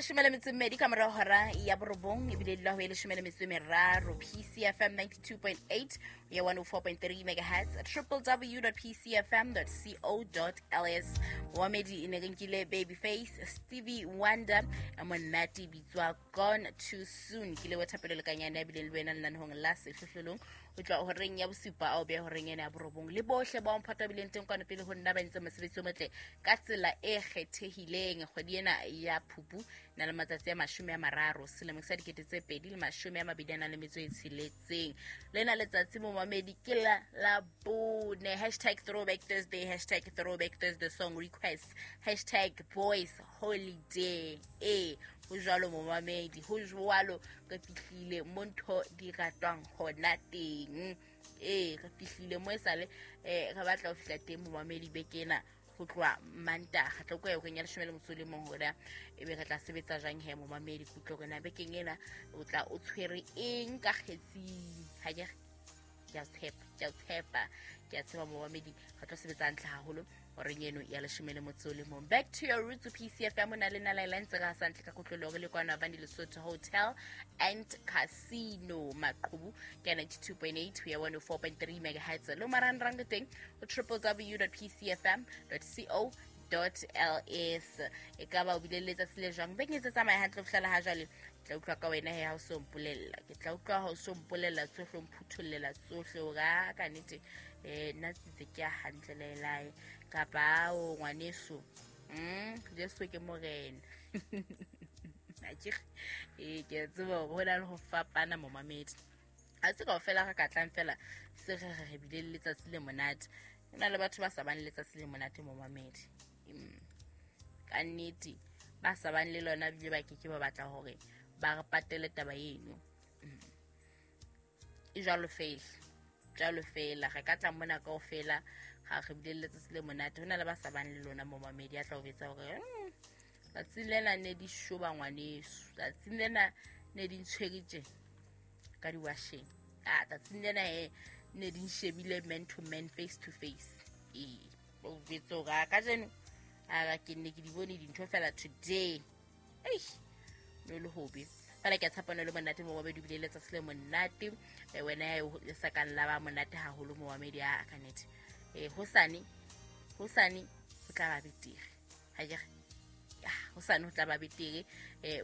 12:12 ka morao hora ya 9 ebile dula ho e 13 PCFM 92.8 ya 104.3 megahertz www.pcfm.co.ls. Momamedi, e ne re nkile Babyface, Stevie Wonder, a monate bitswa Gone Too Soon. Ke le wa thapelo lekanyane ya bile le wena lenanehong la Sehlohlolong ho tloha horeng ya 7 ao beha horeng ena ya 9 le bohle ba mphato bileng teng kwano pele ho nna ba entse mosebetsi o motle ka tsela e kgethehileng. Kgwedi ena ya Phupu na le matsatsi a 30 selemong sa 2026. Lena letsatsi momamedi ke la bone. Hashtag throwback Thursday, hashtag throwback Thursday song request, hashtag boys holiday. Ho jwalo momamedi, ho jwalo re fihlile mo ntho di ratwang hona teng. Re fihlile mo esale re batla ho fihla teng momamedi bekena ho tloha Mantaha tlo kwa horeng ya 11 hora ebe re tla sebetsa jwang he momamedi kutlo rena bekeng ena o tla o tshwere eng ka kgetsing. Ha ke a tshepa ke a tshepa momamedi re tlo sebetsa hantle haholo horeng eno ya 11. Back to your roots PCFM na le nala line tse ga santle ka kutlolo re le kwana Bandi Lesotho Hotel and Casino Maqhubu ka 92.8 ho ya 104.3 megahertz lo marangrang teng o www.pcfm.co.ls. E ka ba o bile letsatsi le jwang bekeng tse tsamaya hantle ho fihlela ha jwale. Tla utlwa ka wena he ha o so mpolella, ke tla utlwa ha o so mpolella tsohle, o mphuthollela tsohle o ka ka nnete nna tsitse ke a hantle lelae kapa o ngwaneso Jesu ke morena. Ke tseba hore ho na le ho fapana momamedi, ha se kaofela re ka tlang fela se re re bile le letsatsi le monate. Ho na le batho ba sa bang le letsatsi le monate momamedi, ka nnete ba sa bang le lona bile ba keke ba batla hore ba re patele taba eno. E jwalo fela re ka tla mona kaofela ga re bile le letsatsi le monate. Ho na le ba sa bang le lona momamedi a tla o betsa hore tsatsing lena ne di shoba ngwaneso, tsatsing lena ne di ntshwere tje ka diwasheng, tsatsing lena ne di nshebile man to man, face to face. O betsa hore kajeno a ke nne ke di bone dintho fela today. No le hobe fela ke a tshepa le monate momamedi bile letsatsi le monate. Wena le sa ka la ba monate haholo momamedi a ka nnete. Hosane ho tla ba betere ha ke hosane ho tla ba betere.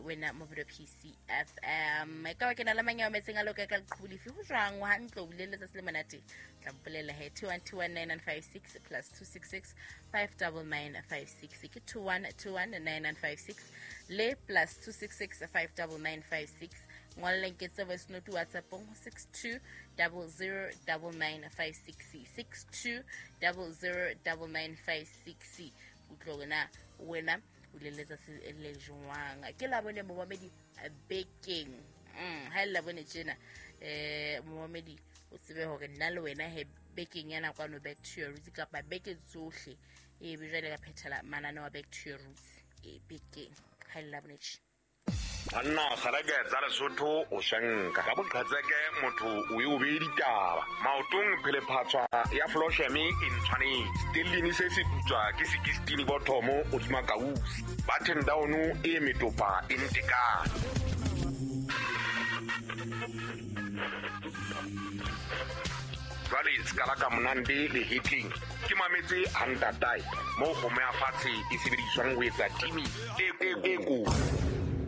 Wena mobile PCFM e ka ba ke na le mang ya metseng a loka ka leqhubu lefe ho jwang hantle o bile letsatsi le monate. Tla mpolela he 21219956 plus 266 59956 ke 21219956 le plus 266 59956. Ngwalleng ke tse voice note WhatsApp ho 62009956 62009956. Utlwe wena wena o le letsatsi le jwang. Ke la bone momamedi bekeng ha le la bone tjena momamedi o tsebe hore nna le wena he bekeng yana kwano back to your roots kapa beke tsohle e be jwale ka phethela manane wa back to your roots bekeng ha le la bone tjena. Anna kgareke tsa Lesotho o shanka ka boqhetseke motho o e o be ditaba maotong phele phatswa ya flosheme e ntshwanetse stellini se se putswa ke 16 bothomo o dima kausi button down e metopa e ntekane. Jwale skala ka monande le hitling ke mametse hantatai mo kgomo ya fatshe e sebediswang ho etsa timi e ko.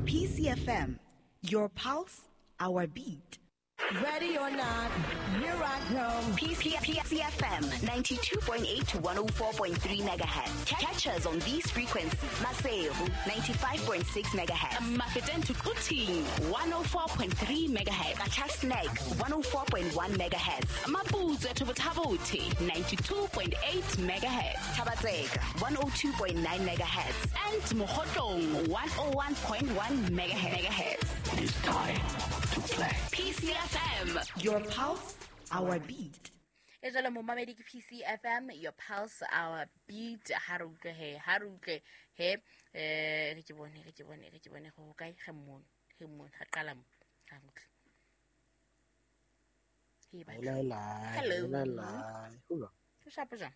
PCFM, your pulse, our beat. Ready or not, here I come. PCFM 92.8 to 104.3 megahertz. Catch us on these frequencies. Maseru 95.6 megahertz. Mafeteng to Quthing 104.3 megahertz. Qacha's Nek 104.1 megahertz. Maputsoe to Botha-Bothe 92.8 megahertz. Thaba-Tseka 102.9 megahertz. And Mokhotlong 101.1 megahertz. It is time to play. PCFM, your pulse, our beat. E jalo momamedi ke PCFM, your pulse, our beat. Ha re utlwe he re ke bone go kae ge mono ha qala mo ha utlwe. Hello. Ke shapo jang?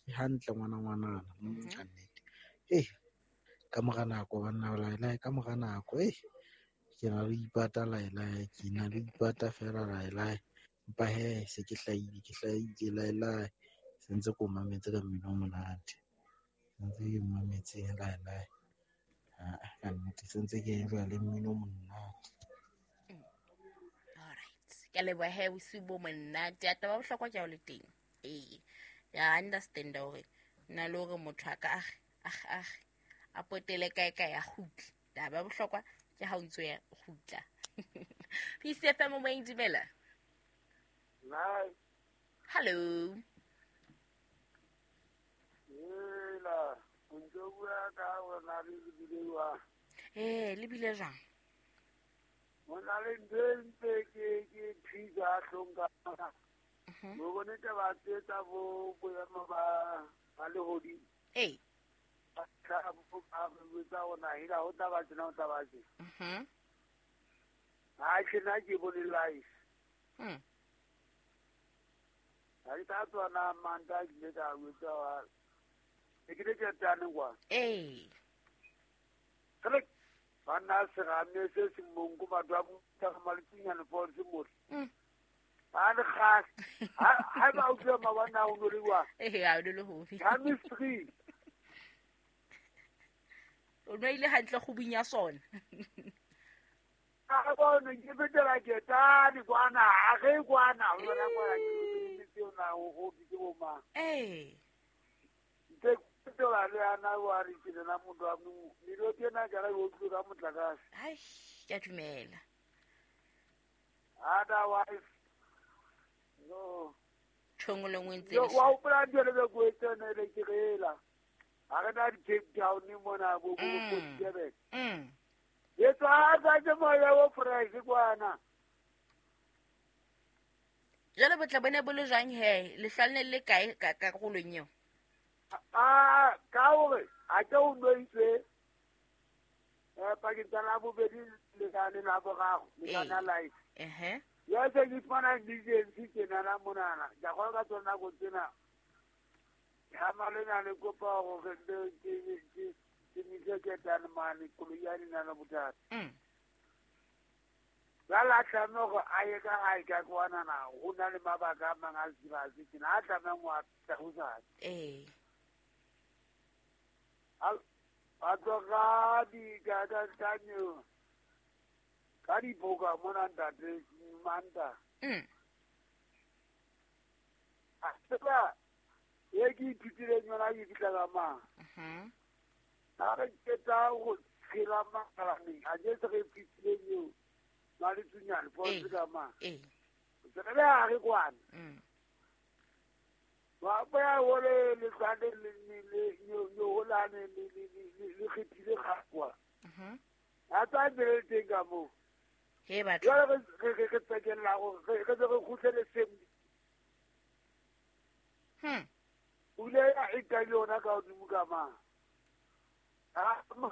Ke hantle ngwana ka nnete. Ka mora nako banna laelae, ka mora nako ke na le ipata laelae, ke na le ipata fela laelae. Empa he se ke hlahile laelae. Se ntse ko mametse ka mmino o monate. Se ntse ke mametse laelae. Ka nnete se ntse ke enjoy le mmino o monate. All right. Ke leboha he bosiu bo monate. A taba bohlokwa ke ha o le teng. Ee. Ya understand hore nna le hore motho a ka a potele kae kae a kgutle. Taba bohlokwa ke ha o ntso ya kgutla. PCFM o moeng dumela. Hello. Hela, o ntso bua ka hore le bile jwang? Le bile jwang? Ho na le ntho e ntse ke thusa hlong ka. Mo bone taba tse tsa bo boemo ba lehodimo. Ee. Ba tla bo ba botsa hore hela ho tla ba tjena ho tla ba tjena. Ha tjena ke bone life. Ha ke tla tswana manta ke ile ka botsa wa ke le ke tane kwa. Ee. Re bana se rame se se mongo batho ba botsa maltsinyane false mo. Ba le gas. Ha ba utlwa mabana o no le wa. Ee, ha o le ho. Chemistry. O no ile hantle go bunya sona. A bona ke betela ke tane kwana, a re kwana, o bona kwana ke tsona o ke bo ma. Ee. Ntse ke le ana wa re ke lena motho wa mo dilo tsena ka re o tloga motlakase. Ai, ke a dumela. Otherwise no. Tshongolo ngwe ntse. Wa hopola ntho le go tsena le ke rela. Ha re na di Cape Town mona bo bo Durban. Ye tswa tsa moya o fresh kwana. Jwale botla bone bo le jwang he le hlalne le kae ka karolong eo? A ka hore a ke o noitse pakeng tsa labobedi le ka le laboraro le kana life. Ya se ke fumana emergency tjena monana. Ka go ka tsona go tsena. Ha malena le kopa hore ke mise ke tane mane koloi ya nna le bothata. La la tlameha hore a ye ka hae ka kwana na ho na le mabaka a mang a serious tjena a tlameha ho a hosane. Ee. A tloga di ka ka ka diboka mona ntate Manta. A tseba e ke ithutileng yona ke fihla ka mang. Ha re qeta go tshela makalane a je se re fihlileng eo Maletsunyane false ka mang. Ee. Se re ha re kwana. Wa boya hole le tlwane le le holane le le kgethile kgakwa. A tsa bele teng ka mo. He batho. Jwale re tsekella gore re re kgutlele same. O ile ya e ka yona ka hodimo ka mang. Ha mo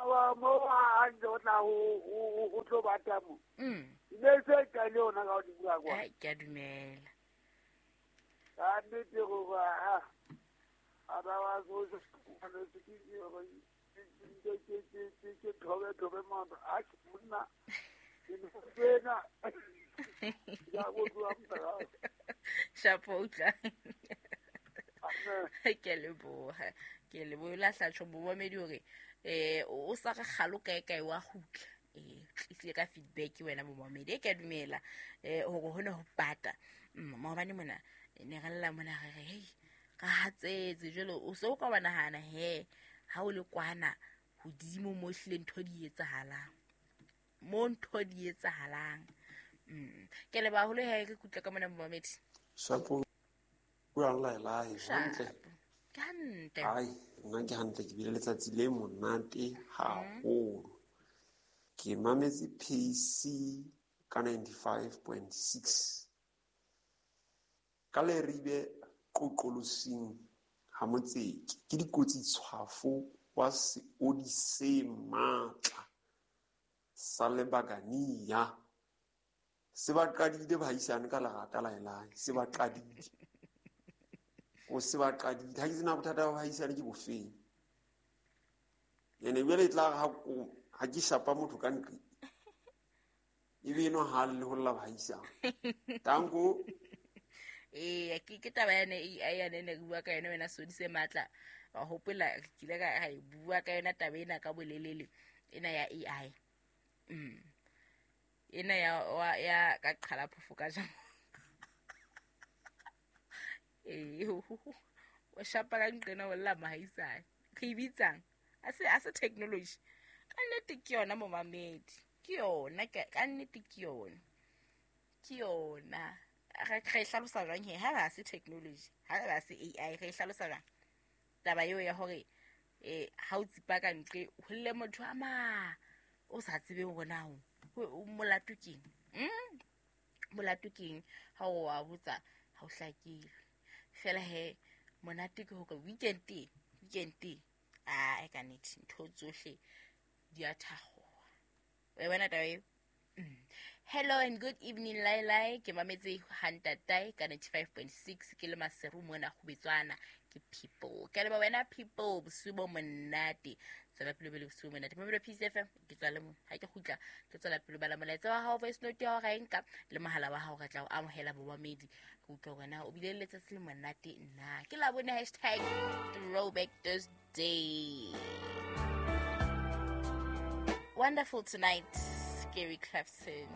a ntse o tla ho tlo bata mo. Ne se ka yona ka hodimo ka kwa. Ai ke a dumela. Ka nnete go ba a ba wa zo se ke thobe motho a ke monna ke tsena ya go tloa motho. Shapo utla. Ke leboha. Ke leboha la hlatso momamedi hore o sa re kgalo kae kae wa kgutla. Tlisile ka feedback wena momamedi e ke a dumela hore hona ho pata. Maobane mona ne re lla mona re re hei ka hatsetse jwale o se o ka wa nahana he ha o le kwana hodimo mo hlile ntho di etsahalang. Mo ntho di etsahalang. Ke leboha haholo he re kgutle ka mona momamedi. Shapo buang laelae hantle. Ke hantle. Ai, nna ke hantle ke bile letsatsi le monate haholo. Ke mametse PC ka 95.6. Ka Leribe qoqolosing ha Motseke ke dikotsi tshwafo wa seodi se matla sa lebakania. Se ba qadile bahaisane ka lerata laelae, se ba qadile. O se ba qadile. Ha ke tsena bothata ba bahaisane ke bofeng. Ene jwale e tla re ha ke shapa motho ka nqe ebe eno ha le ho lla bahaisang. Tanko. Ee, ke taba yane AI yane ne re bua ka yona wena Sodi se matla. Wa hopola re kile ka e bua ka yona taba ena ka bolelele ena ya AI. Ena ya ka qhala phofo ka jang. Ee, o shapa ka nqena o lla mahaisane. Re e bitsang? A se technology. Ka nnete ke yona momamedi. Ke yona ka nnete ke yona. Ke yona. Re hlalosa jwang he ha ba se technology, ha ba se AI, re hlalosa jwang taba eo ya hore ha o tsipa ka ntle ho lle motho a ma o sa tsebeng hore na o molato keng. Molato keng ha o wa botsa ha o hlakile. Fela he monate ke hore weekend a ka nnete ntho tsohle di a thakgoha. O bona taba eo? Hello and good evening, Lailai. Ke mametse Hantatae ka 95.6 ke le Maseru mona go betswana ke people. Ke le wena people bosiu bo monate. Tswela pele bele bosiu monate. Mamelo Peace FM ke tswa le mo. Ha ke kgutla ke tswela pele bala molaetsa wa hao voice note ya hao ra nka le mohala wa hao re tla o amohela bomamedi. Ke utlwa hore na o bile le letsatsi le monate nna. Ke la bone #throwback Thursday. Wonderful tonight, Gary Clapton.